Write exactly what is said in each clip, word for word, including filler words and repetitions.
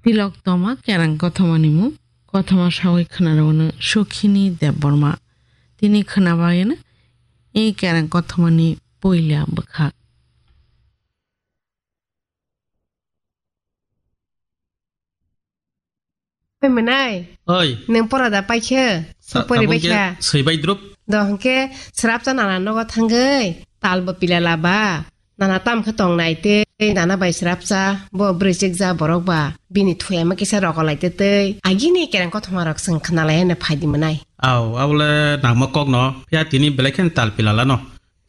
Tilok toma kerang kothomani mung, kothoma sawi khwnarokno Sukhini Debbarma. Tini khwnabayano e kerang kothomani puila bwkha. Oi, mwnai. Oi. Nwng pora da paikhe? Sa-, Sopori tabuk je baikha. Soi bai drup. Do hwnkhe srapsa nana nogo thangwi talbo pila laba. Nana tam khe tong nai tei nana bai srapsa bo bwrwi chikja borok ba bini thuyama kisa rogo lai tei tei agini kereng kothoma rok chwng khna lai hwnwi phai di mwnai. Au, abole nangma kok no. Phiya tini belai khe tal pila lano.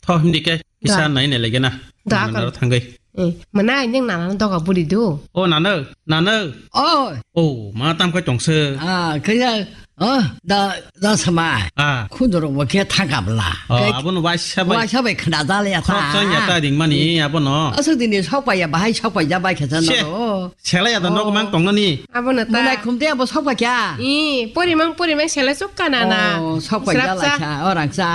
Tho himdi khe kisa Da. Nai nai lege na. Da, Nana akon. Ro thangwi. Eh, mwnai neng nana doga buli do. O nana, nana. Oi. O, ma tam khe tong se. Ah, kaya. Oh, da, da samai. Ah. Khundorok bo khe thangkabla. Oh, khe abono waisa bai. Waisa bai khna jale ya Khorok ta. Chang ya ta ringmani abono. Asuk dini sok pai ya, bahai sok pai ja bai khe jano. Che. Selai ya da nok mang tong nani. Abono ta. Mwnai khumte abo sok pai kya? I, porimang, porimang selai sok kana na. Oh, sok pai jala Srapsa. Kha, orang sa.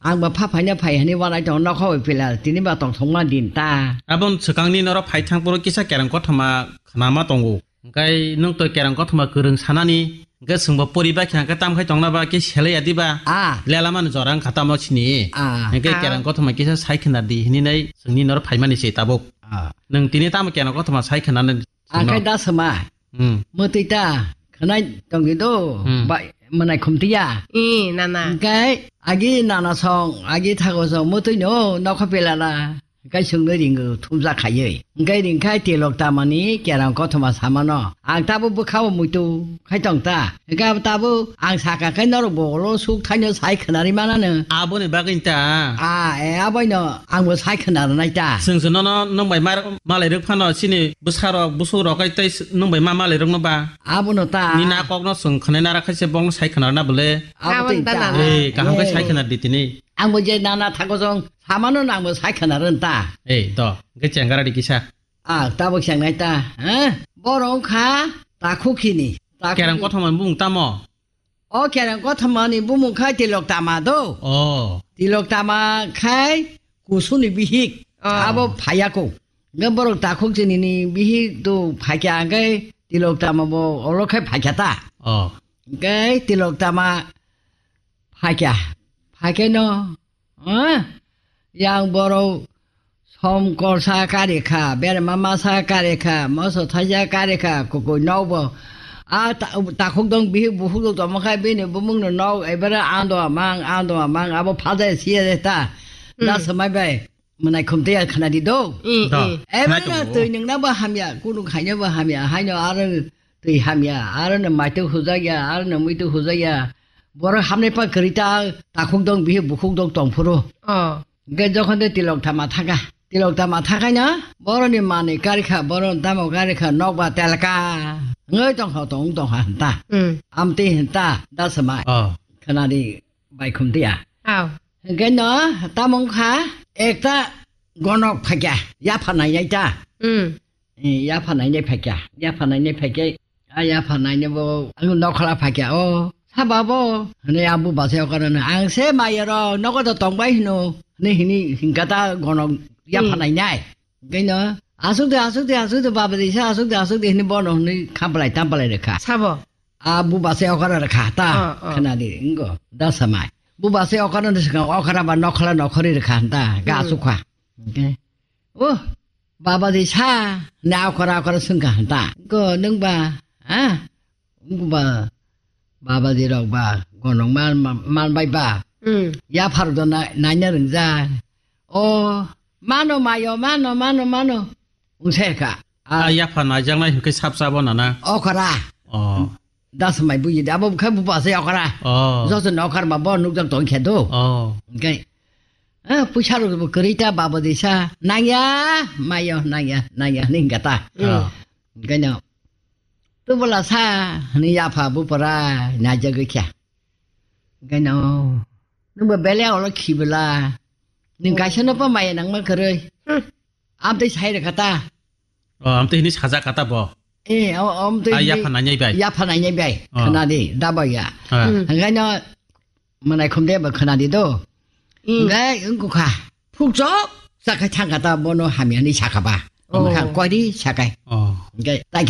Ang ba pha phai na phai hani wanai tong nok hoi pila. Tini ba tong thong ma din ta. Abon swkang ni noro phai thang poro kisa kerang kothoma khnama tongo. Hingkai nwng to kerang kothoma kwrwng sanani, hingke chwngbo poriba khe hingke tam khai tongna ba khe selai ya diba? Ah. Lela mani jora wngkha tamo sini. Ah. Hingke Ah. kerang kothoma kisa sai khna di hininai chwngni noro phaimani se tabuk. Ah. Nwng tini tamo kerang kothoma sai khna nai Akai chwngno? Da sama. Hmm. Mwtwi ta khnai tongwi do. Hmm. Ba, mwnai khumtiya. I, nana. Hingke agi nana song, agi thago song, mwtwi no nokho pelala. Hingke chwngno ringo thumjak khaiwi. Hingke ringkhai tilok tamani kerang kothoma samano. Ang tabuk bwkhao muitu khai tong ta. Hingke abo tabuk ang saka khe norok bo ulo suk thaino sai khwnarwi manano. Aboni bagwi ta. Ah, e, aboino angbo sai khwnarwnai ta. Chwng se nono nwng bai mar-, malai rwk phano chini bwsarok, busukrok kai tei s-, nwng bai ma malai rwkno ba. Abono ta. Nini a kokno chwng khwnai nara khaise bongno sai khwnarwna bole. Abo Aboni tei ta ta. nana. Ei, kaham khe Eh. sai khwnar di tini. Angbo je nana thago jong samano nangbo sai khwnarwn ta. Ei, to, hingke chengara di kisa. Ah, tabuk chengnai ta, ha? Borok wngkha takhuk hini. Takhuk Kerang hini. Kothoma bumung tamo? O kerang kothomani bumung khai tilok tama do. Oh. Tilok tama khai kusuni bihik. Oh. Abo phayako. Nge borok takhuk chinini bihik do phaikya hingke tilok tama bo olo khai phaikya ta. Oh. Hingke tilok tama phaikya. Phaikya no. Ah, yang borok som korsa kari kha, berma masa kari kha, moso thaisa kari kha, kukui nokbo. A ta-, takhuk dong bihik bukhuk dong tongma kha bini bumung no nok ebere ando amang, ando amang, abo phaja siya de ta. Hmm. Da samai bai, mwnai khumte ya khana di do. Hmm, Da. hmm. Ebere Khana twi nungna bo hamya, kunu khaina bo hamya, haino aro twi hamya, aro no maitu hujak ya, aro no muitu hujak ya. Borok hamnai pa kwrwi ta, takhuk dong, bihik bukhuk dong tong phuru. Oh. Hingke jokhon de tilok tama thaka. Tilok tama thakai na, boroni manwi kari kha, boroni tamo kari kha, nokba telka. Ngoi tong kha, tong tong kha hanta. Hmm. Amtwi hanta, da samai. Oh. Khana di bai khumtiya. Aw. Hingke no, tamo wngkha, ekta gonok phaikya, yapha nainai ta. Hmm. Eh, yapha nainai phaikya, yapha nainai phaikya, a yapha nainai bo, ang nokhola phaikya, o, saba bo, hwnwi a buba se okar hwnwi, ang se maya rok, nogo do tongbai hino, hwnwi hini hingka ta gonok yapha Hmm. nainai. Hingke no, asuk de, asuk de, asuk de, baba de, sa asuk de, asuk de, hwnwi bono hwnwi khampalai, tampalai rwkha. Sabo? A buba se okar rwkha ta, Oh, oh. Khwnadi, wngko, da samai. Buba se okar hwnwi swkang, okar ba nokhola nokhori rwkha ta, ga Hmm. asukha. Hingke, O, baba de sa, na okora okora sungka hanta. Ko nung ba, ha? Nung ba, baba de rok ba, gonong man, man, man bai ba. Hmm. Ya phar do na, naina rengja. O, mano mayo, mano, mano, mano. Ungse ka. A, ya phar naijaknai hwnkhe sap sabo nana. Okora. O. Das mai buji de, abo khe buba se okora. Oh. Joto no okar ma bo nukjak tong khe do. Oh. Hingke, eh, puisa rok bo kwrwi ta babo de sa. Nangya, mayo, nangya, nangya, hwnwi hingka ta. Oh. Hingke no, tubula sa, hwnwi yapha bupara, naijagwi khe. Hingke no, nungbo bele olo khibela. Ning kaisa no pa maya nangma kwrwi. Hmm. Amtwi sai rwkha ta. Oh, amtwi hini sajak kha ta bo. Eh, o-, amtwi Ah, hini yapha nainai bai. Yapha nainai bai. Oh. Khana di, da bai ya. Ah. Hmm. Hingkhe no, mwnai khum de bo khana di do. Hmm. Hingkhe wngkha. Phuk chok, chakhai thangkha ta bono hamya hini sakha ba. Oh. Hingkha koi di sakai. Oh. Hingkhe tai